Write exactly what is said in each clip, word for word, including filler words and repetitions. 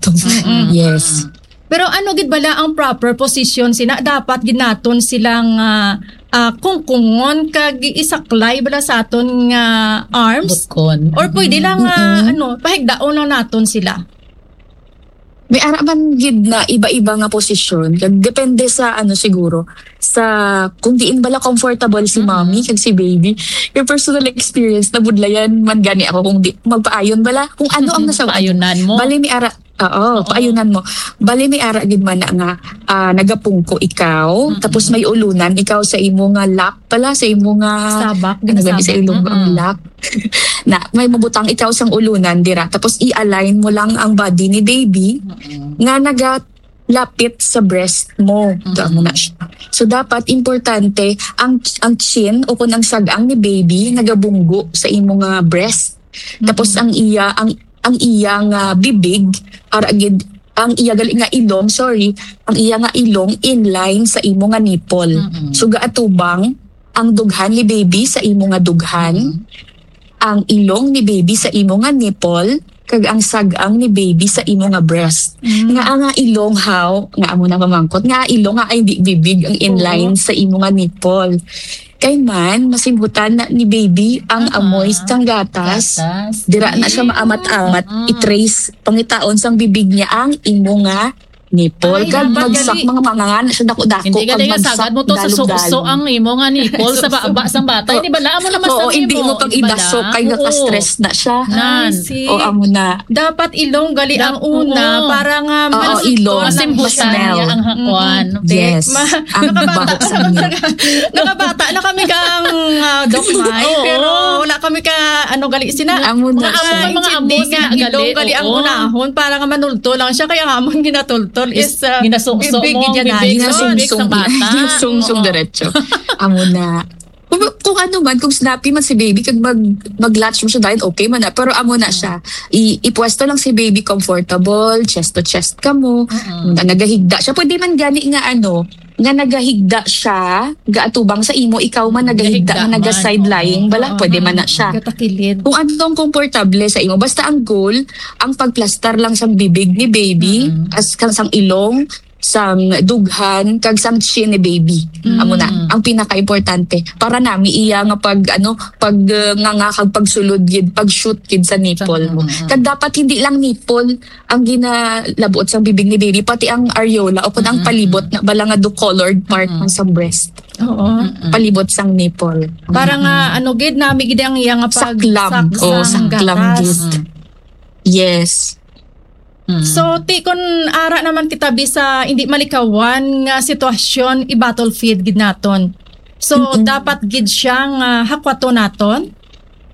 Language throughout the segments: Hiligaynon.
Mm-mm. Yes. Pero ano gid bala ang proper position sina? Dapat gid naton silang, ah, ah, kungkungon kag isaklay bala sa aton nga arms? Butkon. Or pwede lang, ah, Mm-mm. ano, pahigdaon lang naton sila? May ara man gid na iba-iba nga posisyon. Kag depende sa, ano, siguro, sa kung diin bala comfortable si Mm-mm. mommy kag si baby. Yung personal experience, nabudlayan man gani ako kung di, magpaayon bala. Kung ano ang Mm-mm. nasa Paayunan mo. Bali, may ara, Oo, Oo. paayunan mo. Bali, may ara gid man na nga, ah, nagapungko ikaw, Mm-mm. tapos may ulunan ikaw sa imo nga lap pala, sa imo nga, Sabak, ano ba, sa ginasabak. Ilonggo ang Mm-mm. lap. Na, may mabutang ikaw sang ulunan dira, tapos i-align mo lang ang body ni baby Mm-mm. nga nagalapit sa breast mo. Ito, amo Mm-mm. na siya. So, dapat importante ang, ang chin o kung ang sag-ang ni baby nagabunggo sa imo nga breast. Tapos Mm-mm. ang iya, ang, ang iya nga bibig, ara gid, ang iya gali nga ilong, sorry, ang iya nga ilong inline sa imo nga nipple. Mm-mm. So, gaatubang ang dughan ni baby sa imo nga dughan, Mm-mm. ang ilong ni baby sa imo nga nipple, kag ang sag-ang ni baby sa imo nga breast. Mm. Nga ang ilong, how, nga amo na mamangkot, nga ilong nga ay di bibig ang inline Oo. sa imo nga nipple. Kay man, masimhutan na ni baby ang Aha. amoy sang gatas. Gatas. Dira na siya Eh. maamat-amat, Mm. i-trace, pangitaon sang bibig niya ang imo nga nipple. Ay, Kag dapat magsak gali. mga mga nga na siya dako-dako. Hindi ka Kag lang magsak sagad mo to sa dalog-dalog. Suso ang imo nga nipple sa Suso. baba sang bata. Hindi bala, amo naman Oo, sa hindi imo. mo pag Hindi bala. idasok kay Oo. naka-stress na siya. Nan. I see. O, amo na. Dapat ilong gali ang Dap-, una oo. para nga Oo, masulton ilong. ang Masimhutan Smell. niya ang hakuan. Mm. Yes. Ma-, Ang nakabata, baho sa niya. nakabata na kami kang, ah, Doc Mai, Oo. pero wala kami ka, ano, gali sina. Amo na Mga siya. amo, mga amo Kidney sina nga gali, ilong gali ang oo. unahon para nga manulto lang siya. Kaya nga amon ginatultol is, Is, ah, ginasuso bibig mo, niya na. bibig, Ginasungsong, bibig sa bata. ginasungsong Oo. diretso. Amo na. Kung, kung ano man, kung snappy man si baby, kag mag, mag-latch mo siya, dahil okay man na. Pero amo na siya. I, ipwesto lang si baby comfortable, chest to chest ka mo. Mm-mm. Na nagahigda siya. Pwede man gani nga ano, nga nagahigda siya, gaatubang sa imo, ikaw man nagahigda, Nagahigda nga man, naga-side lying, oo. bala, Oo, pwede man na mm. siya. Gatakilid. Kung ano ang komportable sa imo. Basta ang goal, ang pagplastar lang sa bibig ni baby, Mm-mm. as kang sang ilong, sang dughan, kag sang chin ni baby. Mm. Amo na, ang pinaka-importante. Para nami iya nga pag, ano, pag, uh, nga, nga kag pagsulod gid, pag-shoot gid sa nipple mo. Mm-mm. Kag dapat hindi lang nipple ang ginalabot sang bibig ni baby, pati ang areola o kung ang Mm-mm. palibot na bala nga do-colored part Mm-mm. man sa breast. Oo. Mm-mm. Palibot sang nipple. Para nga, Mm-mm. ano gid, nami gid ang iya nga pag-, Saklam. sak-, Oh, sang saklam gatas. gid. Mm. Yes. Mm. So, ti, kun ara naman kita bisa hindi malikawan nga sitwasyon, i-bottle feed gid naton. So, Mm-mm. dapat gid siya nga hakwaton naton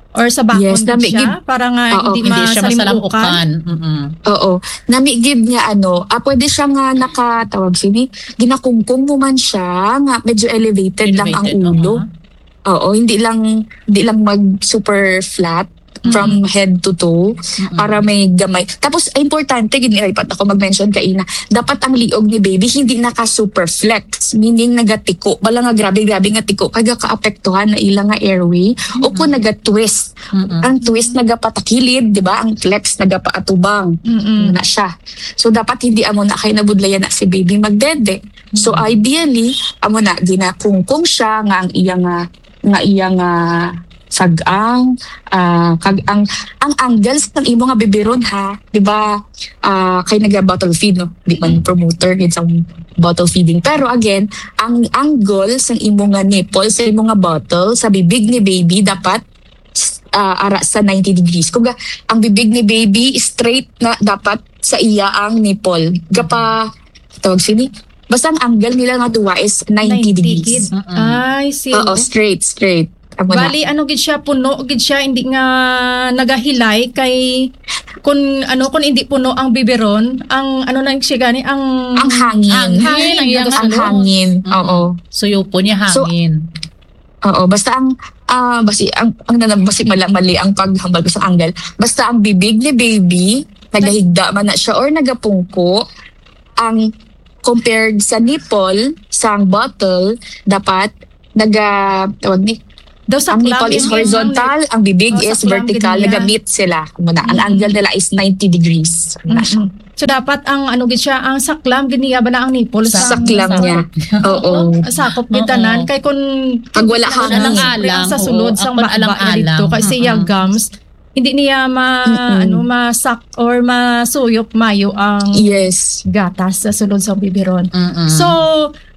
or sabakon Yes, gid nami siya gid. para nga Oo. hindi Hindi siya masalambukan. masalambukan. Mm-mm. Oo. Nami gid nga ano, ah, pwede siya nga nakatawag sini, ginakungkong mo man siya nga medyo elevated lang ang Elevated, ulo. oo. Oo, hindi lang, hindi lang mag super flat from Mm-mm. head to toe Mm-mm. para may gamay. Tapos, importante gid ni, ay, pat ako mag-mention kaina, dapat ang liog ni baby hindi naka super flex, meaning nagatiko. Wala nga grabe-grabe nga tiko, kaya kaapektuhan na ila nga airway. O kung Mm-mm. naga-twist, Mm-mm. ang twist nagapatakilid, di ba? Ang flex nagapaatubang. Mm-mm. Ano na siya. So, dapat hindi amo na kay nabudlayan na si baby magdede. So, Mm-mm. ideally, amo na, ginakungkong siya nga ang iya nga, nga iya nga sag-ang, ah, kag ang, ang angles ng imo nga bibiron, ha, di ba? Ah, kay naga-bottle feed, no? Di man Mm. promoter gid sa bottle feeding. Pero again, ang angle sa imo nga nipple, sa imo nga bottle, sa bibig ni baby, dapat, ah, ara sa ninety degrees. Kung ga-, ang bibig ni baby, straight na dapat sa iya ang nipple. Gapa, tawag sini? Basta ang angle nila nga duwa is ninety Ninety degrees. gid. Mm-mm. Ay, see. Oo, straight, straight. Amo na. Bali, ano gid siya, puno gid siya, hindi nga nagahilay kay kun ano, kun hindi puno ang biberon, ang ano na siya gani, ang Ang hangin. Ang hangin, ang Hangin, iyang ang ano. hangin. Mm. Oo. Suyupon niya So, hangin. Oo, basta ang, ah, basi, ang, ang nanam-, basi mala-, mali ang paghambal ko sa angle. Basta ang bibig ni baby, nagahigda man na siya or nagapungko, ang compared sa nipple, sa bottle, dapat naga-, tawag ni, Daw ang saklang nipple is yung horizontal, ang bibig Oh, is saklang vertical, gid niya. naga-meet sila. Muna, ang Mm-mm. angle nila is ninety degrees. Muna siya. Mm-mm. So, dapat ang, ano gid siya, ang saklam gid niya bala ang nipple sa Saklam niya. Oo. Sakop gid Oo. tanan. Kay kung Pag wala kung hangin. Alang-alang, sa sulod oo, sang ang baba na alang-alang. Dito, kay siya Mm-mm. gums, hindi niya ma-, Mm-mm. ano, masak or masuyop mayo ang Yes. gatas sa sulod sa bibiron. Mm-mm. So,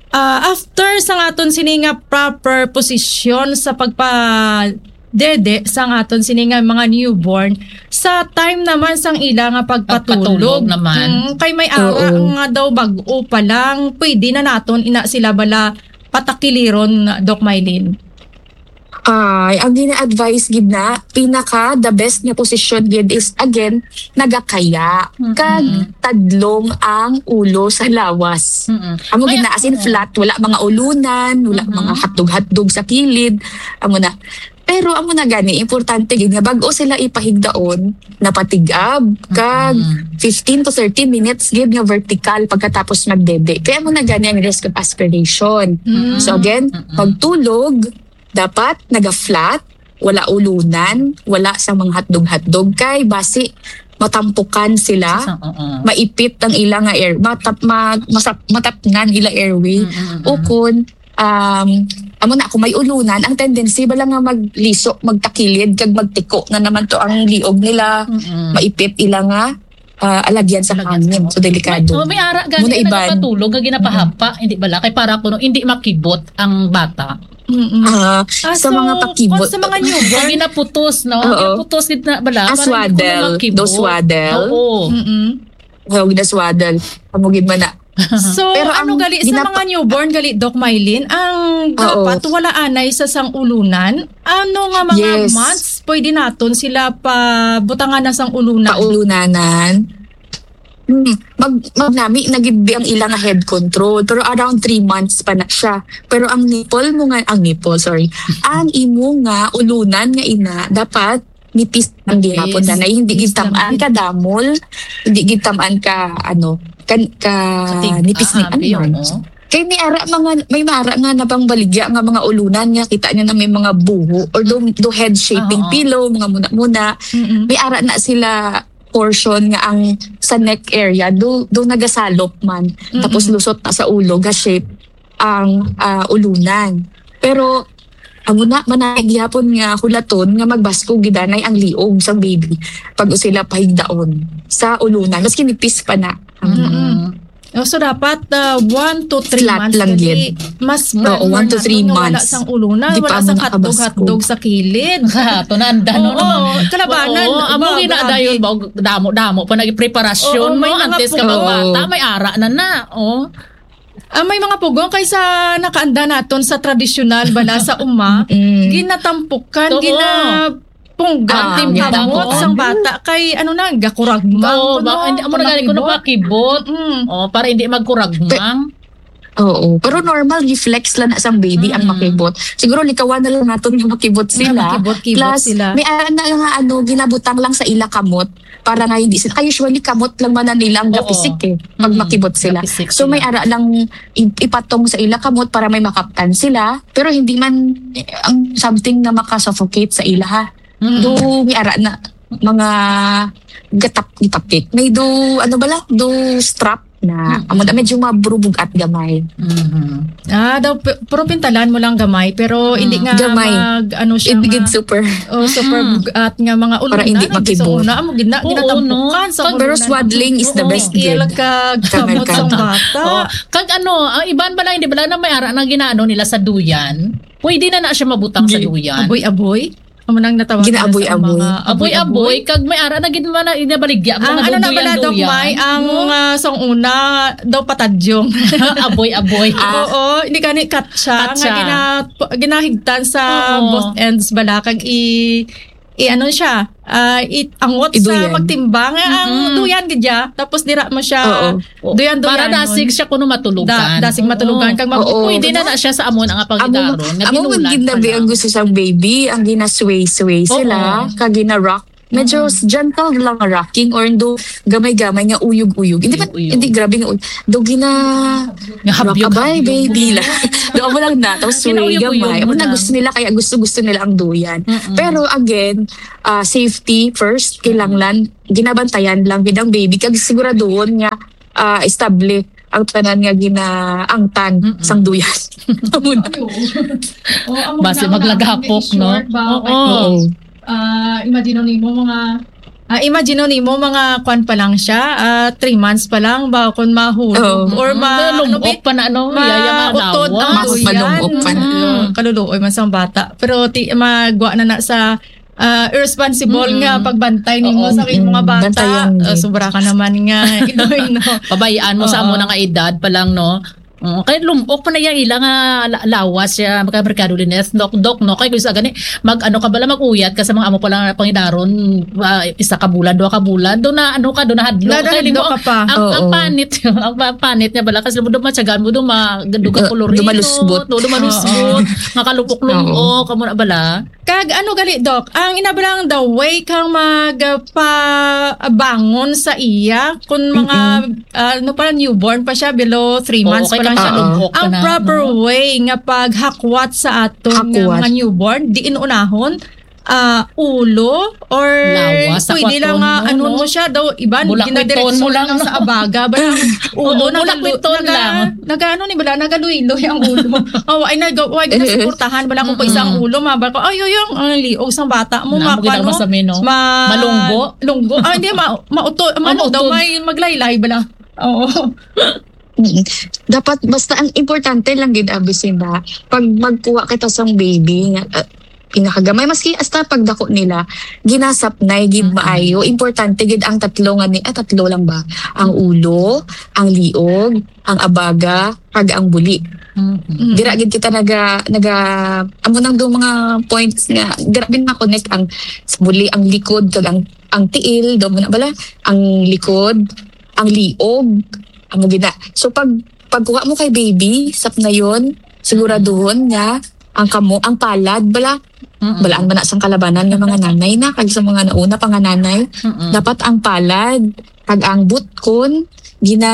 ah, after sa aton sini nga proper posisyon sa pagpa-, dede sa aton sini nga mga newborn, sa time naman sang ila nga pagpatulog. Pagpatulog naman. Mm, kay may ara Oo. nga daw bag-o pa lang, pwede na naton ina sila bala patakiliron, Doc Mylene? Ay, ang gina-advise gid na, pinaka the best nga posisyon gid is, again, nagakaya. Mm-mm. Kag tadlong ang ulo sa lawas. Mm-mm. Amo May gid na, as in, Oo. flat, wala mga ulunan, wala Mm-hmm. mga hatdog-hatdog sa kilid. Amo na. Pero amo na gani, importante gid nga bag-o sila ipahigdaon, napatig-ab, kag Mm. fifteen to thirty minutes gid nga vertical pagkatapos magdede. Kaya amo na gani ang risk of aspiration. Mm. So again, Mm-mm. pagtulog, dapat naga-flat, wala ulunan, wala sa mga hatdog-hatdog, kay basi matampukan sila, Sa, oo. maipit ang ila nga air, matap-, ma-, masap-, matapngan ila airway, Mm, mm, mm. Ukon, um, amo na, kung may ulunan, ang tendency bala nga magliso, magtakilid, kag magtiko na naman to ang liog nila, Mm, mm. maipit ila nga, ah, alagyan sa Alagyan sa hangin. So, delikado. May, oh, may ara gani Muna nga iban. Nagapatulog nga ginapahapa, hindi bala? Kay para kuno hindi makibot ang bata. Mm-mm. Ah, Ah, sa so, mga pakibot. Kung sa mga newborn, Pag ginaputos, no? Oo. Ginaputos gid na bala, Ah, para hindi kuno swaddle. Makibot. Do swaddle. Oo. Mm-mm. Tawag na swaddle. Amo gid man na. So, Pero ano ang gali sa ginapa- mga newborn, gali, Doc Mylene, ang Oo. dapat wala anay sa sang ulunan? Ano nga mga Yes. months pwede naton sila pabutangan na sang ulunan? Paulunanan. Hmm, mag-, magnami na gid ang ila nga head control, pero around three months pa na siya. Pero ang nipple mo nga, ang nipple, sorry, ang imo nga ulunan nga ina, dapat nipis lang gihapon Nipis. na, na hindi Nipis gid tam-an lang. Ka damol, hindi gid tam-an ka, ano, kan-, ka Katig-, nipis ni ah, abi, ano. Oo. Kay may ara mga, may mara nga nabangbaligya nga mga ulunan nga kita niyo na may mga buho or do, do head shaping Ah, oo. pillow, mga muna-muna. Mm-mm. May ara na sila portion nga ang sa neck area do, do nagasalop man. Mm-mm. Tapos lusot na sa ulo, ga-shape ang, ah, ulunan. Pero amo na, manay gihapon nga hulaton nga magbaskog gid anay ang liog sang baby pag sila pahigdaon sa ulunan, maski nipis pa na. Mm-mm. Oh, so dapat, ah, one to three Flat months lang kay gid. Mas Oo, prefer one to nato three nga wala months. Sang ulunan, Di wala pa sang mo nakabaskog. Hatdog-hatdog sa kilid. Sa ato na, ang dano Oo, naman. Kalabanan. Oo, amo Ba, gina grabe. Dayon ba, damo-damo pa naging preparasyon, Oo, may no? Mga Antes ka pugong. Magbata, may ara na na. Oh. Ah, may mga pugong kaysa nakaanda naton sa tradisyonal bala sa uma, Mm. ginatampukan, Oo. ginapunggan Ah, ang kamot ginapunggan. Sang bata kay ano na, gakuragmang Oo, kuno, ba, hindi, amo na gani kuno makibot. Makibot. Mm. Oh, para hindi magkuragmang. Pe-, oo, pero normal reflex lang na sang baby ang Mm. makibot. Siguro likawan na lang naton nga makibot sila. Makibot-kibot Plus, sila. May ara na nga ano, ginabutang lang sa ila kamot para nga hindi sila, kay usually kamot lang man na nila ang Oo. Gapisik eh, pag Mm, makibot sila. Gapisik So, may sila. Ara lang i-, ipatong sa ila kamot para may makaptan sila, pero hindi man, eh, ang something na makasuffocate sa ila, ha. Mm. Do, may ara na, mga gatap-, gitapik. May do, ano bala? Do strap na. Mm. Amo na, medyo maburubog at gamay. Mhm. Ah, daw, pe-, pero pintalan mo lang gamay, pero hindi Mm. nga Gamay. Mag, ano siya Hindi nga, gid super. Oh, super Mm. bugat nga mga Para ulunan, hindi ang makibot. Sa una, amo gid na, Oo, ginatampukan no? sa Pero ulunan. Swaddling is the Oo. Best Mikil gid. Kag Kanang kamot sang kamot. Bata. Oo. Kag ano, ang iban bala, hindi bala na may ara na ginaano nila sa duyan? Pwede na na siya mabutang sa Gi-, duyan. Aboy-aboy? Amo nang natawag nila sa Ginaaboy-aboy. Mga Aboy-aboy, aboy-aboy. Kag may ara na gid man na inabaligya mo Ang nga ano na bala, Doc duyan-duyan. May, ang, No? Ah, sang una, daw patadyong. Aboy-aboy. Ah. Oo, hindi ka ni katsa, Katsa. Nga gina-, ginahigtan sa Oo. Both ends bala, kag i-, i-ano siya, ah, i-, angot sa Iduyan. Magtimbang, eh, ang Mm-mm. Duyan gid ya. Tapos dira mo siya, Oo. Oo. Duyan-duyanon. Para dasig siya kuno matulugan. Da-, dasig matulugan. Oo. Kag mag- Oo. Pwede na na siya sa amon ang Amo, paghigaron nga amo man binulan gid na pala. Ang gusto sang baby, ang ginasway-sway Oo. Sila, kag gina-rock medyo s- gentle lang nga rocking or do gamay-gamay nga uyog-uyog. Hindi man, Uyog-uyog. hindi grabe nga uyog. Do gina Nga habyog, rock-a-bye, habyog. Baby lang. Do mo lang na, tapos sway, Ginauyog-uyog gamay. mo Amo na lang. Gusto nila, kaya gusto-gusto nila ang duyan. Mm-mm. Pero again, ah, safety first, kailangan ginabantayan lang gid ang baby kag siguraduhon nga ah, estable ang tanan nga ginaangtan Mm-mm. sang duyan. Amo na. Oo. O, amo Basi na, maglagapok, in no? short ba, Oo. Oo. Ah, imagine nimo mga ah, imagine nimo mga kwan pa lang siya, ah, three months pa lang ba kung mahulog Oo. or ma Malungkot ano, bi- pa na, ano, ma- yaya nga utod ang lawas. Mas duyan. malungkot pa. Mm, kaluluoy man sang bata. Pero ti magwa na na sa ah, irresponsible Mm-mm. nga pagbantay nimo Oo. sa imo mga Mm-mm. bata. Bantayan Ah, gid. Sobra ka naman nga idoy, no? Pabayaan mo sa Oo. amo na nga edad pa lang, no? Oo, kay lumok pa na iya ila nga la- lawas siya, kay Mercado Lineth, dok, dok, no? Kay gusto gani, mag, ano ka bala, mag-uyat ka sa mga amo pa lang pangidaron, ah, isa ka bulan, duha ka bulan, do na, ano ka, do na hadlok. Kay Nadahadlok limo, ka pa. Ang, ang Oo. panit, ang panit niya bala, kasi mo dumatsagan mo, duma, duga Ga- kolorino, dumalusbot. do, dumalusbot, nga kalupok-lumok, amo na bala. Kag ano gali, Doc? Ang inabalang the way kang mag ah, pa bangon sa iya kun mga ah, ano pa, newborn pa siya, below three Oo, months kay pa lang siya. kapag lumok ka Ang na, proper no? Way nga paghakwat sa ato nga Hakwat. Mga newborn, diin unahon, ah, ulo or Lawas, pwede lang hakwaton nga mo, anon no? mo siya daw, iban Bulakwiton mo ginadireksyon lang, lang no? Sa abaga ba ang ulo. Oo, Nagalu- bulakwiton naga- lang. Nagaano ni bala, nagaluiloy ang ulo. Oh, ay nag wag na suportahan bala kung isa ang ulo, mabal ko, ay, ay, ang, ang liog sang bata mo, Na, ma- mo ginawa ano, sa meno. ma- Malunggo? Lunggo. Ah, hindi, ma mauto, ano daw, Mautod. May maglaylay bala. Oo. Mm. Dapat basta ang importante lang gid, Abisina, pag magkuha kita sang baby nga ah, pinakagamay, maski hasta pagdako nila, ginasapnay gid maayo. Importante gid ang tatlo nga ni, ah, tatlo lang ba? Ang ulo, ang liog, ang abaga, kag ang buli. Mhm. Dira gid kita naga naga amo nang do mga points nga grabe na connect ang sa buli, ang likod kag ang ang tiil, do mo na bala, ang likod, ang liog, amo gid na. So pag pagkuha mo kay baby, sapnayon, siguraduhon nga ang kamo, ang palad bala, Mm-mm. balaan man na sang kalabanan nga mga nanay na kag sa mga nauna pa nga nanay, Mm-mm. dapat ang palad kag ang butkon gina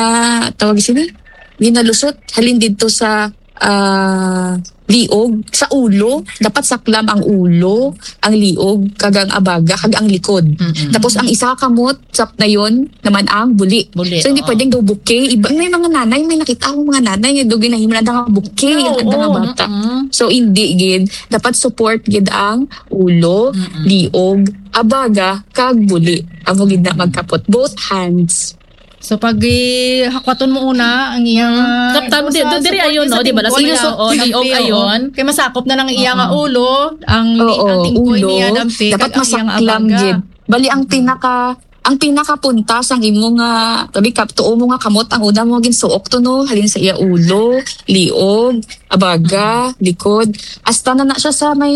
tawag sini ginalusot halin didto sa ah, liog sa ulo, dapat saklam ang ulo, ang liog kag ang abaga kag ang likod. Mm-mm. Tapos ang isa ka kamot sapnayon naman ang buli. Buli, So hindi oo. Pwedeng daw buki. Iba may mga nanay, may nakita akong mga nanay nga daw ginahimo na nga buki Oo, ang mga oo, bata. Mm-mm. So hindi gid, dapat support gid ang ulo, Mm-mm. liog, abaga kag buli. Amo gid na magkapot, both hands. So pag eh, hakwaton mo una ang iyang Mm. Kaptan mo, di- di- diri ayon, no? Di ba? Sa Sa liog, oh, liog ayon. Kay masakop na lang iya nga ulo, ang Oo, ang tingkoy ulo. Niya dampi, Dapat kag ang iya nga masaklam abaga. Gid. Bali ang pinaka ang pinakapunta sang imo nga tabi kap tuo mo nga kamot ang una mo ginsuok to, no, halin sa iya ulo, liog, abaga, likod, hasta na na siya sa may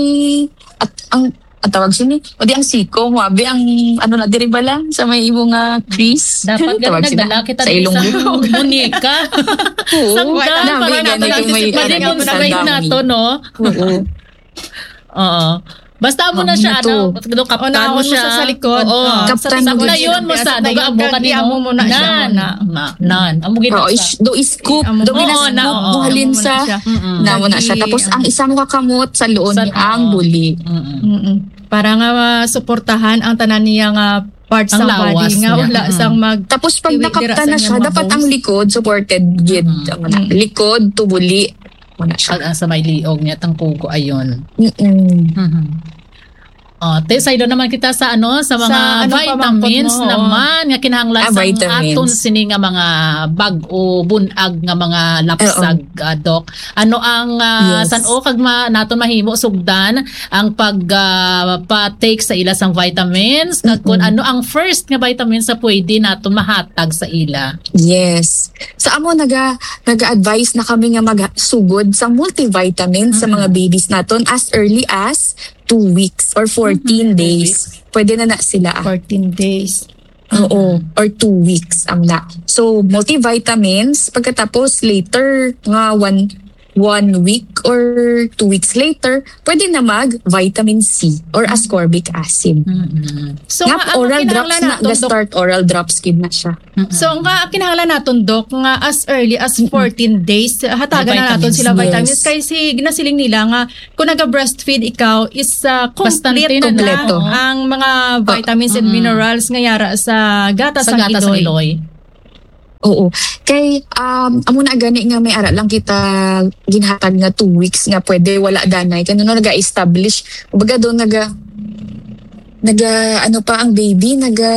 at ang ang tawag sini o di ang siko mo abi ang ano na diri ba lang sa may imo nga crease. Dapat Tawag ganun sina? Nagdala kita Sa dito ilong. Sa munika. Oo. Sa Wala, ugan, wala, para wala, nato wala, lang wala, pwede wala, mong wala, sabihin wala, nato, no? Oo. Oo. Basta mo na Amo siya, na to. ano, do kaptan Unahon mo mo siya. sa, sa likod. Oo. Ah, Kaptan mo Sa yun mo sa, Sa duga mo yun, kanino. kag-amo mo na siya, Nan. muna. Na, nan. Amo gid Oo, sa. is, do scoop, Amo do na. gina-scoop Oo, na, mo oo. halin Amo mo na sa siya. Mm-mm. na mo na siya. Lagi, Tapos ah. ang isa mo ka kamot sa luon Sa ni ang oo. buli. Mm-mm. Mm-mm. Para nga masuportahan ang tanan niya nga parts Ang sa lawas body nga niya. wala Mm-mm. sang mag Tapos pag Tiwi nakapta dira sa na iyang siya, mga dapat bones. Ang likod supported gid. Mm. Ang na- Mm. Likod to buli. Mo na siya. Kag ang sa may liog niya, tang kugo ayon. Mm-mm. Mhm. Oh, te, saydo naman kita sa ano, sa mga Sa ano pa, vitamins mangkot mo, oo. naman nga kinahanglan Ah, sa vitamins. aton sini nga mga bag-o bunag nga mga lapsag, ah, Doc. Ano ang ah, Yes. san-o kag ma, naton mahimo sugdan ang pag ah, pa-take sa ila sang vitamins, kag kung ano ang first nga vitamins sa pwede naton mahatag sa ila? Yes. Sa amo naga naga-advise na kami nga magsugod sa multivitamin sa mga babies naton as early as two weeks or fourteen Mhm, two days. weeks. Pwede na na sila. Ah. Fourteen days. Oo, or two weeks ang na. So, multivitamins, pagkatapos later nga one one week or two weeks later, pwede na mag vitamin C or ascorbic acid. Mm-mm. So, Nga nga, ano oral kinahanglan drops na, naton, Doc? Ga-start oral drops gid na siya. So, nga kinahanglan naton, Doc, nga as early as fourteen days, hatagan na May naton vitamins. sila vitamins. Yes. Kay si, ginasiling nila nga, kung naga-breastfeed ikaw, is uh, Bastante complete na na, na, oo. ang mga vitamins and Mm-mm. minerals nga yara sa gatas Sa sang gatas sang iloy. iloy. Oo. Kay, um, amo na gani nga may ara lang kita ginhatag nga two weeks nga pwede wala danay. Kaya no, naga-establish. Kumbaga doon naga, naga, ano pa ang baby, naga,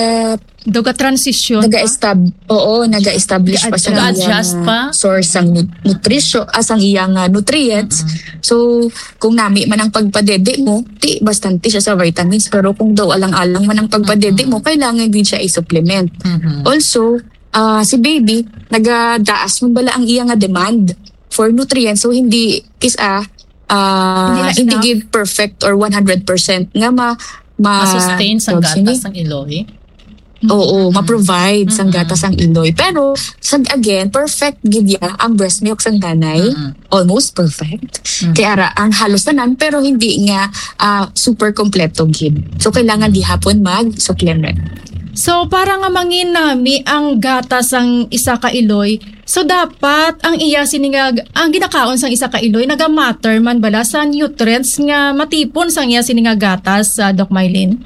Daw ga-transition pa? naga-estab, oo, naga-establish pa sa Nag-adjust iyang, pa? ah, source sang nu- nutrition, ah, sang iyang ah, nutrients. So, kung nami man ang pagpadede mo, ti bastante siya sa vitamins. Pero kung daw alang-alang man ang pagpadede mo, kailangan din siya i-supplement. Mhm. Also, ah, si baby, nagadaas man bala ang iya nga demand for nutrients. So, hindi, kis-, ah, ah, Hindi na hindi enough. gid perfect or one hundred percent nga ma, ma, Ma-sustain sang tawag sini? gatas sang iloy. Oo, ma-provide sang gatas ang iloy. Pero, sa, again, perfect gid ya ang breast milk sang nanay. Mm-mm. Almost perfect. Mm. Kaya ara, ang halos tanan, pero hindi nga ah, super kompleto gid. So, kailangan gihapon mag-supplement. So, para nga manginami ang gatas sang isa ka iloy, so dapat ang iya sini nga, ang ginakaon sang isa ka iloy naga-matter man bala sa nutrients nga matipon sang iya sini nga gatas, ah, Doc Mylene?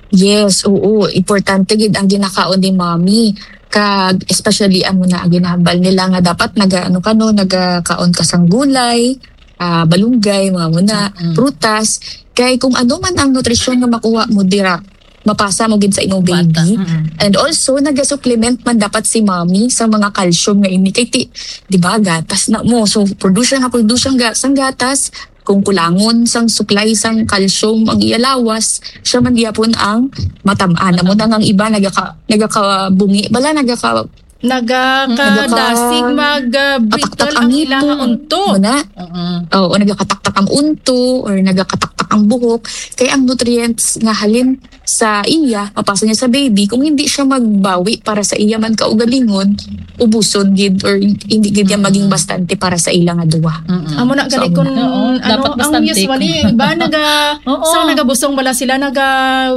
Yes, oo. Importante gid ang ginakaon ni mommy. Kag especially amo na ang ginahambal nila nga dapat naga, ano ka, no, nagakaon ka sang gulay, ah, balunggay, mga muna, Mm-mm. prutas. Kay kung ano man ang nutrisyon nga makuha mo dira, mapasa mo gid sa imong Bata. baby. Mm-mm. And also, naga-supplement man dapat si mommy sa mga calcium nga ini. Kay ti, di ba, gatas na mo. So, produce siya nga, produce siyang ga-, sang gatas. Kung kulangon sang supply sang calcium ang iya lawas, siya man gyapon ang matam-an. Amo na nga ang iba nagaka-, nagakabungi bala, nagaka-, Nagakadasig Nagaka- mag uh, brittle kataktak ang ang ilang ngipon. Unto. Muna, Oo. Oo, nagakataktak ang unto or nagakataktak ang buhok. Kay ang nutrients nga halin sa iya, mapasa niya sa baby, kung hindi siya magbawi para sa iya man kaugalingon, ubuson gid or hindi gid niya maging bastante para sa ila nga duwa. Mm-mm. Amo na So, gali amo kung na. Oo, ano dapat ang bastante. Usually iba naga Oo. sa nagabusong bala sila naga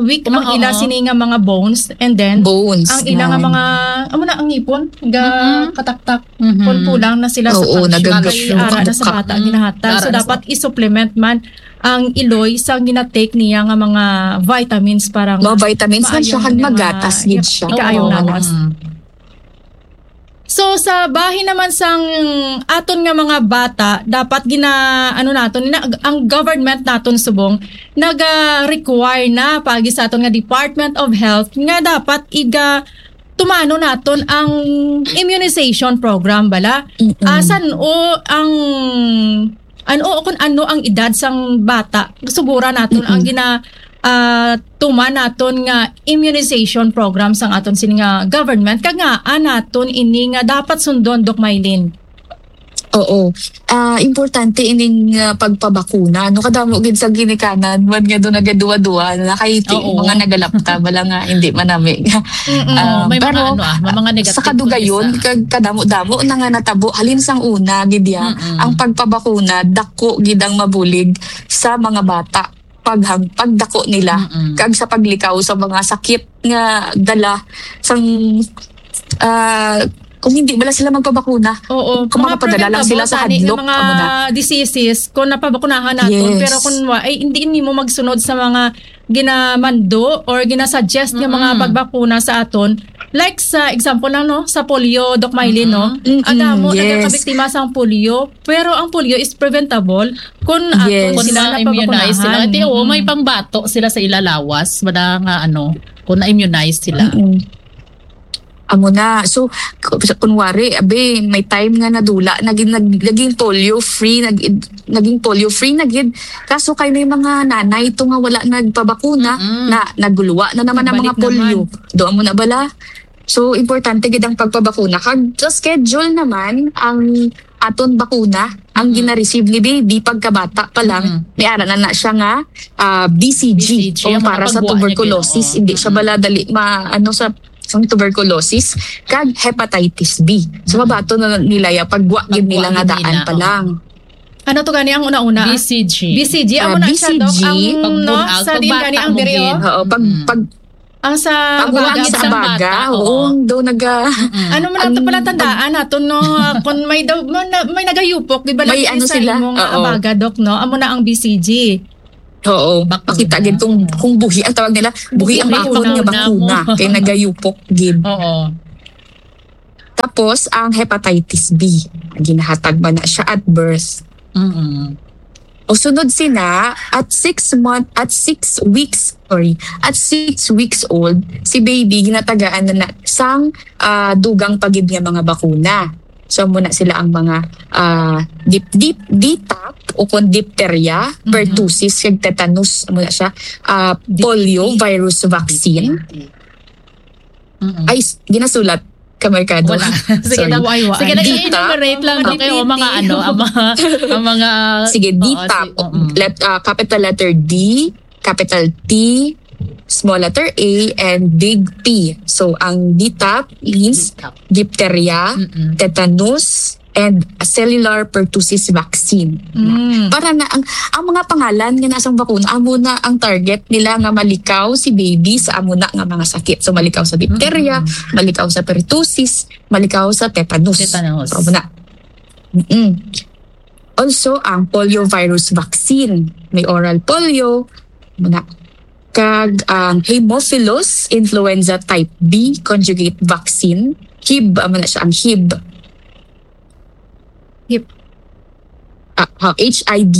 weak ang Oo. ila sini nga mga bones, and then Bones. ang ila nga yan. Mga amo na ang ngipon ga Mm-mm. kataktak Mhm. pulpulang na sila sa Oo, calcium. nagaga- Kay ara na sa Katuktok. bata ginahata. Ara So na sa dapat i-supplement man ang iloy sa ginatake niya nga mga vitamins para nga Mga vitamins man siya, maayo kag niya magatas nga gid ip- siya. ikaayo Oo. lawas. Mm. So sa bahin naman sang aton nga mga bata, dapat gina ano naton na, ang government naton subong naga-require na pagi sa aton nga Department of Health nga dapat iga tumano naton ang immunization program bala. Mm-mm. Asan o ang ano o kung ano ang edad sang bata, sugura naton ang gina ah, tuman naton nga immunization program sang aton sini nga government, kag ngaa naton ini nga dapat sundon, Doc Mylene? Oo. Ah, importante ining ah, pagpabakuna. No, kadamo gid sa ginikanan man nga do nagaduwa-duwa na kay ti- Oo. mga nagalapta bala nga hindi manami. Mm-mm. Ah, May pero mga ano ah, may mga negative sa kadugayon kung isa. Kag kadamo-damo na nga natabo halin sang una gid ya, Mm-mm. ang pagpabakuna dako gid ang mabulig sa mga bata paghang pagdako nila Mm-mm. kag sa paglikaw sa mga sakit nga dala sang ah, kung hindi bala sila magpabakuna. Oo, Kung mga makapadala lang sila preventable sa tani nga hadlok, mga amo na. Diseases kung napabakunahan naton, Yes. Pero kung wa, ay hindi nimo magsunod sa mga ginamando or ginasuggest nga mga Mm-mm. pagbakuna sa aton. Like sa example lang, no, sa polio, Doc Mylene, no? Mm-mm, Ang damo yes. Nagkakabiktima sa polio, pero ang polio is preventable kung aton Yes. Kung sila ma-immunize sila. napabakunahan. Ati, oo, Mm-mm. may pangbato sila sa ilalawas. Wala nga ano, kung na-immunize sila. Mm-mm. Amo na. So, ku- sa- kunwari, abi, may time nga nadula, naging, nag- naging polio free, nag, naging polio free na gid. Kaso kay may mga nanay to nga wala nagpabakuna, Mm-mm. na naguluwa na naman ang mga Balik polio. naman. Do amo na bala. So, importante gid ang pagpabakuna. Kag sa schedule naman, ang aton bakuna, ang Mm-mm. gina-receive ni baby pagkabata pa lang, Mm-mm. may ara na na siya nga ah, B C G, B C G, kung ang para sa nakagwa niya tuberculosis, gid, oo. hindi siya Mm-mm. bala dali ma, ano, sa, sa tuberculosis, kag hepatitis B. So, Mm-mm. mabato na nila ya pagwa gid Pagwa nila nga gid daan nila, pa oo. lang. Ano to gani ang una-una? B C G. B C G, amo Ah, na siya, Doc. B C G. Ang, no, Pagbunag, sa din gani ang pagbata diri, mo gid. Oh. Oo, pag, Mm. pag, Ang sa pag Abaga, uwangit sa sa Abaga, bata, oo. Oo, daw naga-, Mm-mm. Ano man ang ang pala tandaan nato, no? Kung may daw, may na-, may nagayupok, di ba, May lagi ano sa sila? Imong Oo. Abaga, Doc, no? Amo na ang B C G. Oo, Bakunaw. Makita gid kung, kung buhi ang tawag nila, buhi ang Buhi bakod nga ang bakuna, bakuna. Kay nagayupok gid. Oo. Tapos, ang hepatitis B, ginahatag man na siya at birth. Mm-mm. O sunod sina, at six month, at six weeks, sorry, at six weeks old, si baby ginatagaan na, na sang, ah, dugang pa gid nga mga bakuna. So, muna sila ang mga, ah, dip, dip, D T A P o kung diphtheria, Mhm. pertussis, kag tetanus, muna siya, ah, Dip-, polio dip-, virus vaccine. Mm-mm. Ay, s-, ginasulat ka, Mercado. Wala. Sige Sorry. na, Why, why? sige na, Dita. I-enumerate lang, Mga okay, o mga dipiti. ano, ang mga, ang mga, Sige, oo, D T A P, si-, oo. let-, ah, capital letter D, capital T, small letter A, and big P. So, ang D T A P is D T A P. diphtheria, Mm-mm. tetanus, and cellular pertussis vaccine. Mm. Para na ang, ang mga pangalan nga nasang bakuna, amo na ang target nila nga malikaw si baby sa amo na nga mga sakit. So, malikaw sa diphtheria, Mm-mm. malikaw sa pertussis, malikaw sa tetanus. Tetanus. So, amo na. Mm-mm. Also, ang polio virus vaccine. May oral polio, amo na. Kag ang Haemophilus influenza type B conjugate vaccine, H I B, amo na siya ang H I B. Hip. Ah, ah, H I B.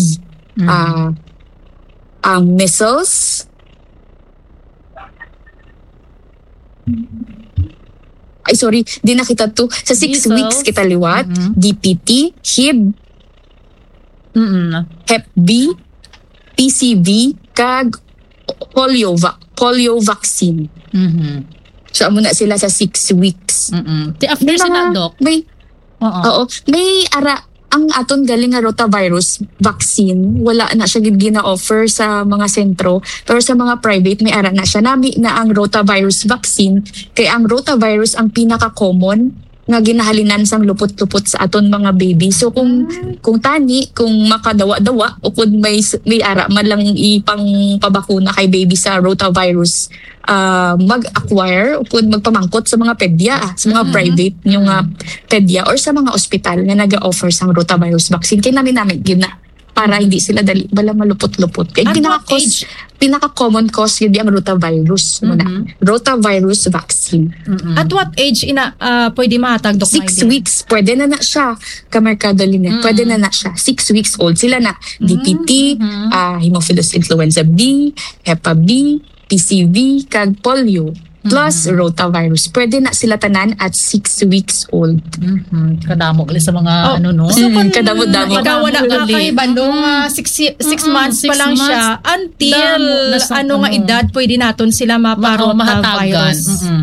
Mm. Ah, ang measles. Ay, sorry, di na kita to. Sa six Measles. weeks kita liwat, Mm-hmm. D P T, H I B, Mm-mm. Hep B, P C V, kag polio va-, polio vaccine. Mm-hmm. So, amo na sila sa six weeks. Mm-mm. Ti after May sa mga, na, Doc? may, Oo. oo, may ara, ang aton galing nga rotavirus vaccine, wala na siya gid gina-offer sa mga sentro, pero sa mga private, may ara na siya. Nami na ang rotavirus vaccine, kay ang rotavirus ang pinaka-common nga ginahalinan sang lupot-lupot sa aton mga baby. So, kung, Mm. kung tani, kung makadawa-dawa, o kung may s-, may ara man lang ipangpabakuna kay baby sa rotavirus, ah, mag-acquire o kung magpamangkot sa mga pedya, sa mga Mm. private nyo nga Mm. pedya or sa mga ospital nga naga-offer sang rotavirus vaccine. Kay nami-nami gyud na para hindi sila dali bala malupot-lupot. Kay At what pinaka-cause, age? pinaka-common cause gyud ang rotavirus muna. Mhm. Rotavirus vaccine. Mm-mm. At what age ina, ah, pwede mahatag, Doc Six Maylin? weeks, pwede na na siya, Kamerkado Lynette. Mm-mm. Pwede na na siya. Six weeks old sila na. Mm-hmm. D P T, ah, Haemophilus influenza B, Hepa B, P C V, kag polio. Plus Mm-hmm. rotavirus. Pwede na sila tanan at six weeks old. Mhm. Kadamo gali sa mga Oh, ano, no? so Mm, kung kadamo-damo. ikaw wala Kadamo ka gali. kay Bandong, Mm. ah, six, six Mm-mm, months pa six lang months. siya, until Damo na sa ano nga ano. edad pwede naton sila Ma-, oh, mahatagan. maparota virus? Mm-mm.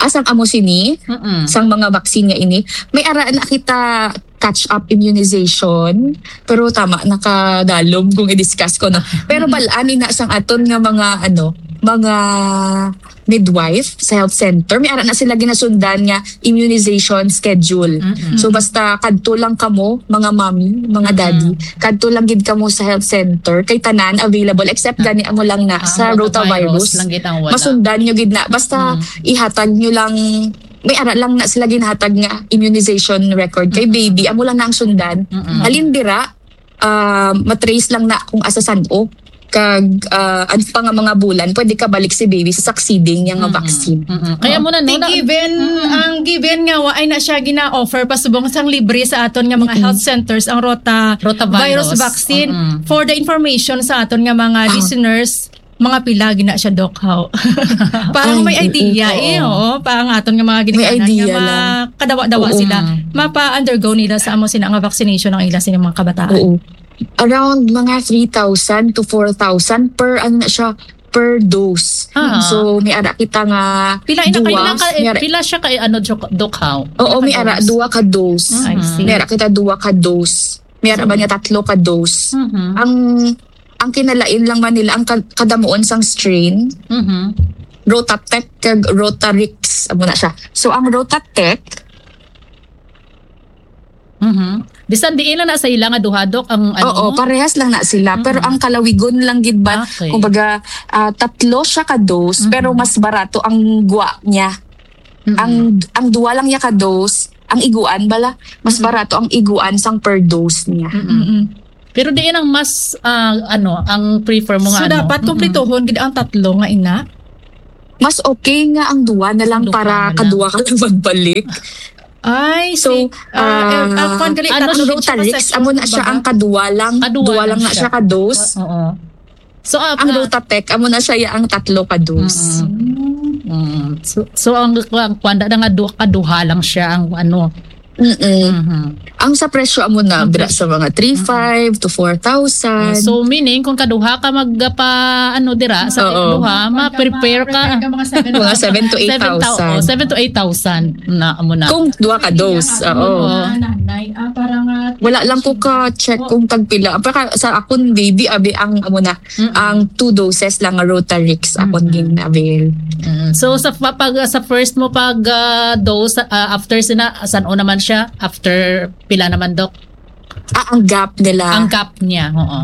Asang amo sini? Mm-mm. Sang mga vaccine nga ini? May ara na kita catch-up immunization, pero tama, nakadalom kung i-discuss ko, no? Pero Mm-mm. bal-an ina sang aton nga mga, ano, mga midwife sa health center, may ara na sila ginasundan nga immunization schedule. Mm-mm. So, basta kadto lang kamo, mga mommy, mga Mm-mm. daddy, kadto lang gid kamo sa health center, kay tanan available, except Ah. gani amo lang na Ah, sa rotavirus rotavirus. lang gid ang wala. Masundan nyo gid na. Basta Mm. ihatag nyo lang, may ara lang na sila ginhatag nga immunization record kay Mm-mm. baby, amo lang na ang sundan. Mm-mm. Halin dira, ah, matrace lang na kung asa san-o. Kag, ah, ang pa nga mga bulan, pwede ka balik si baby sa succeeding niya nga Mm-mm. vaccine. Mm-mm. Kaya Oh. mo na, no, Ti na given, Mm-mm. ang given nga wa ay na siya gina-offer pasubong sang libre sa aton nga mga Mm-mm. health centers ang rota Rotavirus. virus vaccine. Mm-mm. For the information sa aton nga mga Ah. listeners, mga pila gina siya, Doc, how? Parang Ay, may oo, idea, oo. eh, oo. Parang aton nga mga May ginikanan nga idea ma-, lang. kadawa-dawa Oo. sila. Mm. Mapa-undergo nila sa amo sina nga vaccination ang ila sina mga kabataan. Oo. Around mga three thousand to four thousand per, ano na siya, per dose. Ah. So, may ara kita nga Pila ina, duwa, pila ka, may ara pila siya ka, ano, Doc, Doc, how? Oo, Pila ka may ara dose? duwa ka dose. Ah, I see. May ara kita duwa ka dose. May ara ba Sige. niya tatlo ka dose? Mhm. Ang, ang kinalain lang man nila, ang ka-, kadamuon sang strain, Mhm. Rotatec kag Rotarix, amo na siya. So, ang Rotatec, Mhm. Bisan diin lang na sa ila nga duha, Dok, ang ano Oo, mo? Parehas lang na sila. Pero Mm. ang kalawigon lang gid ba, Okay. kumbaga, ah, tatlo siya ka dose, Mhm. pero mas barato ang gwa niya. Mm. Ang, ang duwa lang niya ka dose, ang iguan bala, mas Mhm. barato ang iguan sang per dose niya. Mm-mm. Mm-mm. Pero diin ang mas, ah, ano, ang prefer mo So, nga, ano? dapat Mm-mm. kumplituhon gid ang tatlo nga ina? Mas okay nga ang duwa na lang Duha para na lang. kaduwa ka lang magbalik. Ay, So, si, ah, eh, ah, ah, kwan gali, ano, tatlo gid siya ka Rotarix, session, amo na siya kumbaga. ang kaduwa lang. Kaduwa Duwa lang lang na siya. siya ka dose. Oo. So, ah, Ang ah, Rotatec, amo na siya ya ang tatlo ka dose. Mm-mm. Mm. Mm. So, so ang, ang kwanda na nga du-, kaduha lang siya ang ano. Mm-mm. Mhm. Ang sa presyo amo na, Ang dira presyo. sa mga three five to four thousand. So, meaning, kung kaduha ka mag, pa, ano, dira, sa Oo. duha, ma-prepare ka. Prepare ka mga seven Mga thousand. seven to Seven thou-, eight thousand. oh, seven to eight thousand na, amo na. Kung duha ka dose, oo. Oo. Mga nanay, ah, para nga Wala lang ko ka-check Oo. kung tagpila. Pero sa akon, baby, abi, ang, amo na, Mm-mm. ang two doses lang nga Rotarix akon Mm-mm. gin-avail. Mm. So, sa pa-, pag, sa first mo pag, ah, dose, ah, after sina, san-o naman siya? After pila naman, Doc? Ah, ang gap nila. Ang gap niya, oo.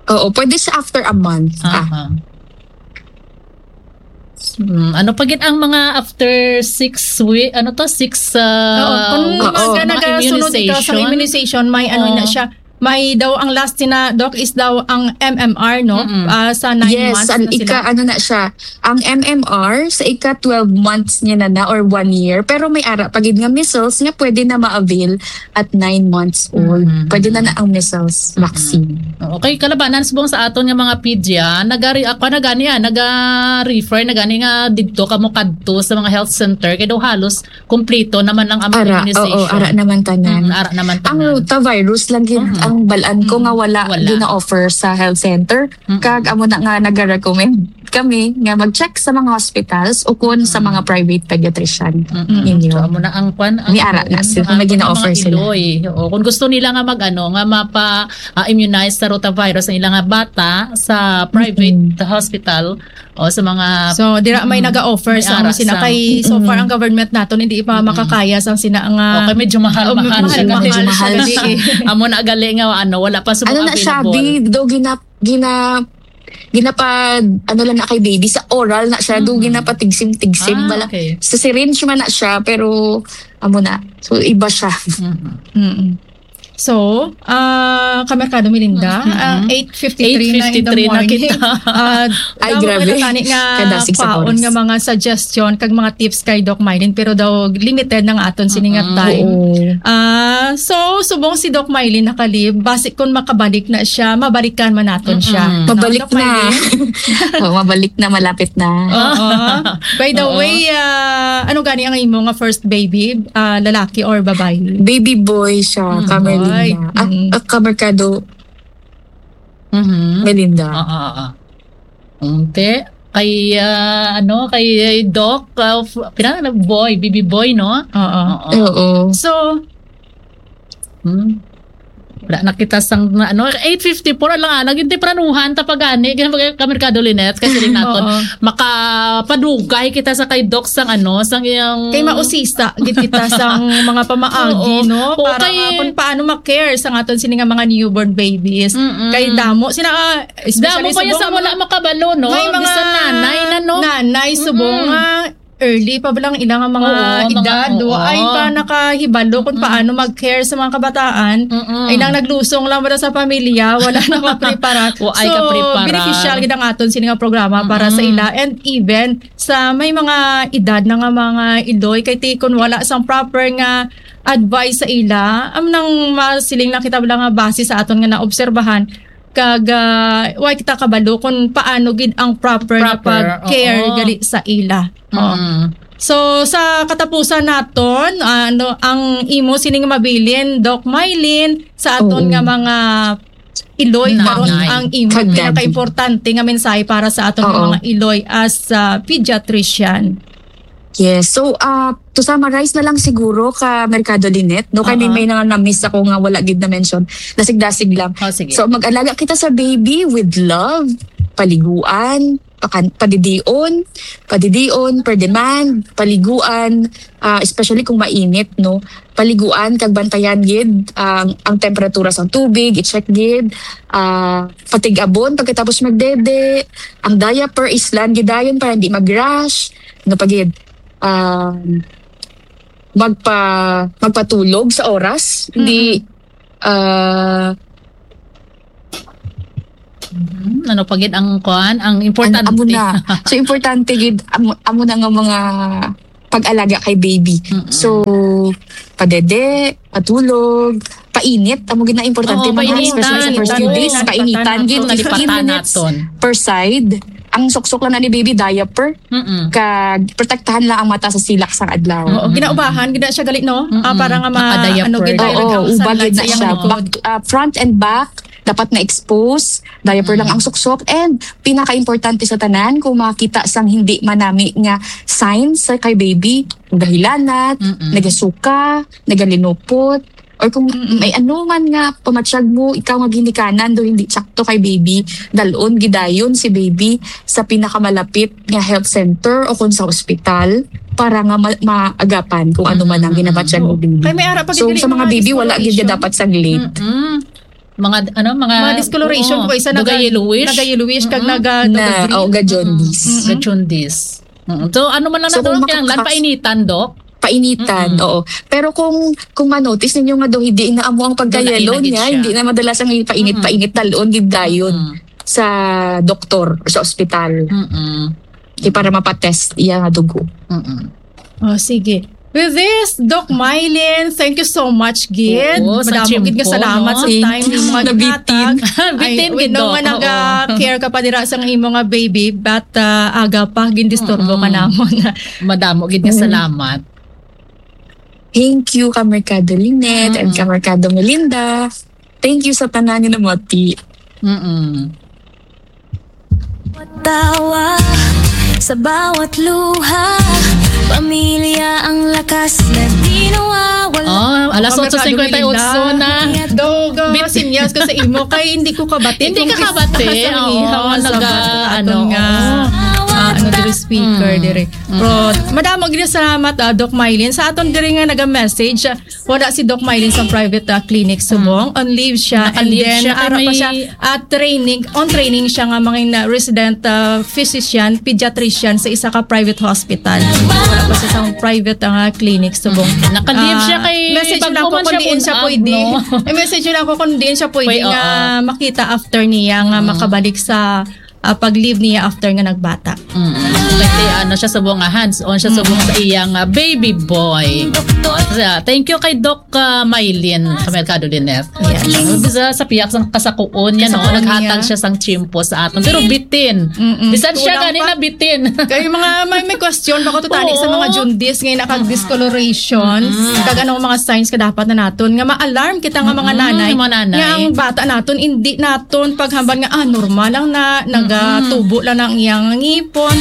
Oo, pwede siya after a month. Ah. Aha. Hmm, ano pa gid ang mga after six week, ano to, six, ah, Oo, kung Oo. mag-, nagasunod ikaw sa immunization? immunization, may ano Oo. na siya, may daw ang last na, Doc, is daw ang M M R, no? Mm-mm. Ah, sa nine Yes, months ang na sila. ika, ano na siya, ang M M R, sa ika twelve months niya na na or one year, pero may ara pa gid nga measles nga pwede na ma-avail at nine months old. Mm-hmm. Pwede na na ang measles Mm-hmm. vaccine. Okay, kalabanan subong sa aton nga mga pedia, nagari-, ako na gani, ah, naga-refer na gani nga didto kamo kadto sa mga health center, kay daw halos kompleto naman ang among Ara, immunization. oo, ara naman tanan. Mm, ara naman Ang tanan. rotavirus lang gid Mhm. ang balaan ko Mhm. nga wala Wala. gina-offer sa health center. Mhm. Kag amo na nga nag-recommend kami nga mag-check sa mga hospitals o kun sa Mhm. mga private pediatrician Mhm. ninyo. So, amo na ang kwan, ang Ni ara na ang sila, mga, may gina-offer mga sila. iloy. Oo, kung gusto nila nga mag-ano, nga mapa, ah, immunize sa rotavirus ang ilang bata sa private Mhm. hospital, o sa mga So, dira may Mm. nag-a-offer May sang ara sina sang kay, so far, Mm. ang government naton hindi pa Mm. makakaya sang sina nga Okay, medyo mahal, Oh, mahal mahal, siya, mahal medyo siya mahal gali, eh. Amo na gali nga, ano, wala pa sa Ano mga na siya, available. Bi? Do gina-, gina-, ginapa-, ano lang na kay baby, sa oral na siya, do Mm. ginapatigsim-tigsim, Ah, bala. Okay. Sa syringe man na siya, pero, amo na. So, iba siya. Mhm. Mm. So, ah, Kamerkado Melinda, Mm-mm. ah, eight fifty-three na in the eight fifty-three na morning. kita. Ah, Ay, damo grabe. pa na tani nga Kadasig sa kwaon oras. nga mga suggestion kag mga tips kay Doc Mylene, pero daw limited na nga aton sini nga Mm-mm. time. Oo. Ah, so, subong si Doc Mylene nakalib, basi kung makabalik na siya, mabalikan man naton siya. Mm-mm. No, Mabalik Doc na. Mylene? Oo, mabalik na, malapit na. Oo. By the Oo. way, ah, ano gani ang imo nga first baby? Ah, lalaki or babayi? Baby boy siya, Mm. Kamerlinda. Boy. Ah, Mm. ah, Kamerkado Mhm. Melinda. Oo, oo. Unti. Kay, ah, ano, kay Doc, ah, f-, pina-, boy, baby boy, no? Oo. Oo. Oo. So, hmm. Wala na kita sang, na, ano, eight fifty-four, alang-alang, yung tempranuhan, tapagani, ganyan, Kamerkado Lynette, kasi rin naton, Oo. makapadugay kita sa kay Doc sang, ano, sang iyang Kay mausisa, gid kita sang mga pamaagi, Oo. no? Oo, Para kay nga kung paano ma-care sa aton sini nga mga newborn babies. Mm-mm. Kay damo, sina, ah, Especially Damo pa niya sa subong wala mga makabalo, no? May mga Bisan nanay na, no? nanay subong Mm-mm. nga early pa lang ilang mga Oo, mga, edad, oo. wa ay pa nakahibalo kung Mm. paano mag-care sa mga kabataan. Mm-mm. Ay nang naglusong lang wala sa pamilya, wala nakaprepara. Wa ay So, kaprepara. beneficial gid ang aton sini nga programa para sa Mm-mm. ila and even sa may mga edad na nga mga iloy kay ti kun wala sang proper nga advice sa ila, am nang masiling na kita wala nga base sa aton nga naobserbahan, kag, ah, wa kita kabalo kung paano gid ang proper nga Proper, pag-care oo. gali sa ila. Oh. Mm. So, sa katapusan naton, ano, ang imo sining mabilin, Doc Mylene, sa aton Oo. nga mga iloy, Nanay. karon ang imo Kag daddy. pinakaimportante nga mensahe para sa aton nga Oo. mga iloy as, ah, pediatrician? Yes. So, ah, to summarize na lang siguro, Kamerkado Lynette, no? Kay may, Oo. may nga na-miss ako nga wala gid na-mention. Dasig-dasig lang. Oh, sige. So, mag-alaga kita sa baby with love, paliguan, pakan-, padidion, padidion per demand, paliguan, ah, especially kung mainit, no? Paliguan kag bantayan gid ang, ang temperatura sa tubig, i-check gid, ah, patig-abon pagkatapos magdede, ang diaper islan gidayon para hindi mag-rash, ano pa gid? Um, magpa-, magpatulog sa oras, hindi, ah, Mhm. Ano pa gid ang kuan, ang An-, importante? Amo na. So, importante gid, amo, amo na nga mga pag-alaga kay baby. Mm-mm. So, padede, patulog, painit, amo gid na importante, Oo, mga, especially sa painitan, first few days, painitan, painitan gid, painitan, fifteen minutes painitan. Per side. Ang suksok lang na ni baby, diaper. Mm-mm. Kag protektahan lang ang mata sa silak sang adlaw. Oo, ginaubahan gid na siya gali, no? Ah, Mm-mm. para nga ma-, Naka-diaper. ano gid, Oo, dayon ang ubag sunlight gid sa na iyang siya. likod. Back, ah, front and back, dapat na-expose. Diaper lang Mm. ang suksok. And pinaka-importante sa tanan, kung makakita sang hindi manami nga signs sa kay baby, nagahilanat, Mm-mm. nagasuka, nagalinupot, or kung Mm-mm. may ano man nga pamatyag mo, ikaw nga ginikanan do hindi sakto kay baby, dalon gidayon si baby sa pinakamalapit nga health center o kung sa ospital para nga ma- maagapan kung ano man ang Mm-mm. ginabatyag mo, baby. Kay may ara pa gid So, dili sa mga mga baby, wala gid discoloration. Dapat sa late. Mm-mm. Mga, ano, mga, Mga discoloration oo, ko, isa mga naga- yellowish. Naga-yellowish kag Mm-mm. naga Na, daga green. O, ga-jaundice. Mm-mm. Ga-jaundice. Mm-mm. So, ano man lang So, daw kung ang kinahanglan, makakas- painitan, Doc? Painitan, Mm-mm. Oo. Pero kung kung ma-notice ninyo nga daw hindi na amo ang pagka-yellow niya, hindi na madalas ang painit-painit, dalon gid dayon sa doktor or sa ospital. Mm-mm. Kay para mapatest iya nga dugo. Mm-mm. Oh, sige. With this, Doc Mylene, thank you so much gid. Oo, sa Madamo gid nga tiyempo, salamat no? sa Thank time you. Nga Nabitin. Ay, Bitin we gid, know Doc. Nga Oo. Naga-care ka pa dira sa imo nga baby, but uh, aga pa gindisturbo ka Mm-mm. namon. Madamo gid nga salamat. Thank you, Kamerkado Lynette and Kamerkado Melinda. Thank you sa tanan nga namati. Mm-mm. Tawa sa bawat luha, pamilya ang lakas na di nawawala. Oh, alas otso cincuenta y ocho na. Dogo, sinyas ko sa imo kay hindi ko kabati. Hindi ka kabati. Oo, naga, ano, Nga, ah, ano diri speaker diri. Pero madamo gid salamat, ah, Doc Mylene, sa aton diri nga naga-message. Wala si Doc Mylene sa private, ah, clinic subong. On leave siya. Naka-leave And then siya kay ara pa may siya, ah, training, on training siya nga mga na resident, ah, physician, pediatrician sa isa ka private hospital. Wala pa siya sa private, ah, clinic subong. Naka-leave siya kay Message bago lang ko man kung siya diin siya pull-up, pwede. No? I-message lang ko kung diin siya pwede Pwede, nga oo. Makita after niya nga makabalik sa ah, pag-leave niya after nga nagbata. Mm. Kasi ano siya subong nga hands-on siya subong sa iyang ah, baby boy. So, thank you kay Doc ah, Mylene Kamerkado Lynette. Yes. Bisa sa pihak sang kasakuon niya, no? Kasakuon Naghatag niya. Siya sang tiyempo sa aton. Pero bitin. Mm-mm. Bisan siya Kulang gani pa. Na bitin. Kay mga may, may question pa ko to tani sa Oo. Mga jaundice nga nakag-discoloration, kag anong mga signs ka dapat na naton nga ma-alarm kita nga mga Mm-mm, nanay, mga nanay. Nga ang bata naton hindi naton paghambal nga ah normal lang na nagatubo lang ang iyang ngipon.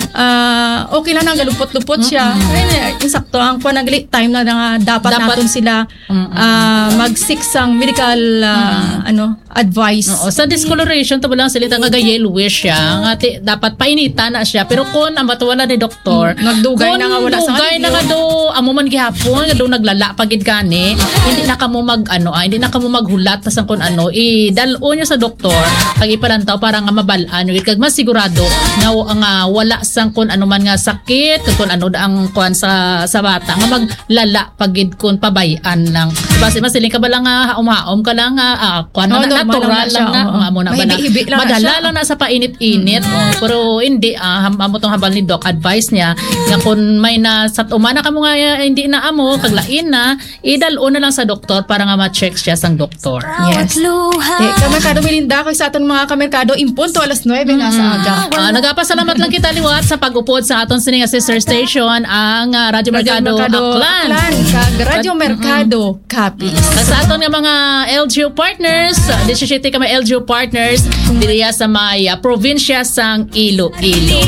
Ah, okay lang na galupot-lupot siya. Ay, insakto ang kuan, nagli time na nga dapat, Dapat naton sila ah, mag-seek sang medical ah, ano advice. Oo, sa discoloration, tabo lang sila nga yellowish siya. Nga ti, dapat painitan na siya. Pero kung ang batuwala ni doktor, Mm, nagdugay na nga wala sa dugay na nga do, amo man gihapon, nga do naglala pa gid gani, hindi na kamo mag, ano, ah, hindi na kamo maghulat sa kung ano, idal-on niyo sa doktor, pag ipalantaw para nga mabalaan niyo, kag mas sigurado nga, nga wala sang kung ano man nga sakit, kung ano ang kuan sa, sa bata, nga maglala pa gid kung pabay-an lang. Basi masiling ka ba lang nga haom-haom ka lang nga, ah, kuan na, Oh, na, normal natural lang na lang siya, na. oo. Nga amo na bala. Mahibi-hibi lang na Madala siya. Lang na sa painit-init. Oh, pero hindi, ah, ham- amo tong habal ni Doc, advice niya nga kung may na sa umana kamo nga, eh, hindi na amo, kag lain na, idal-on na lang sa doktor para nga ma-check siya sang doktor. Yes. Di, kamerkado Melinda, kag sa aton mga kamerkado, impunto alas nuebe na sa aga. Ah, nagapasalamat lang kita liwat sa pag-upod sa aton sini nga sister station, ang, ah, Radyo Merkado, Aklan. Aklan, kag Radyo Merkado, Capiz. Kag sa aton nga mga L G U partners, ah, disisiyete ka mga L G U partners, diriya sa may, ah, probinsya sang Iloilo.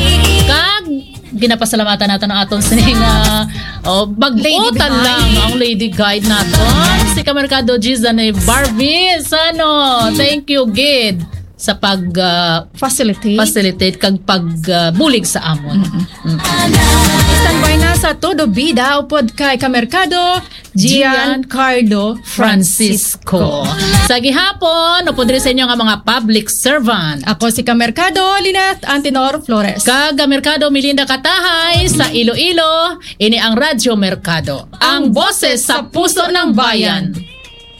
Kag ginapasalamatan naton ang aton sini nga, oh, bag-o ta lang, ang lady guide naton, si Kamerkado Gizane Barbie Sano. Thank you gid. sa pag ah, Facilitate. facilitate kag pag ah, bulig sa amon. Mm. Standby na sa Todo Bida upod kay Kamerkado, Gian Carlo Francisco. Sa gihapon, upod diri sa inyo nga mga public servant. Ako si Kamerkado, Lynette Antenor Flores. Kag Kamerkado Melinda Katahay sa Iloilo, ini ang Radyo Merkado. Ang boses sa puso ng bayan.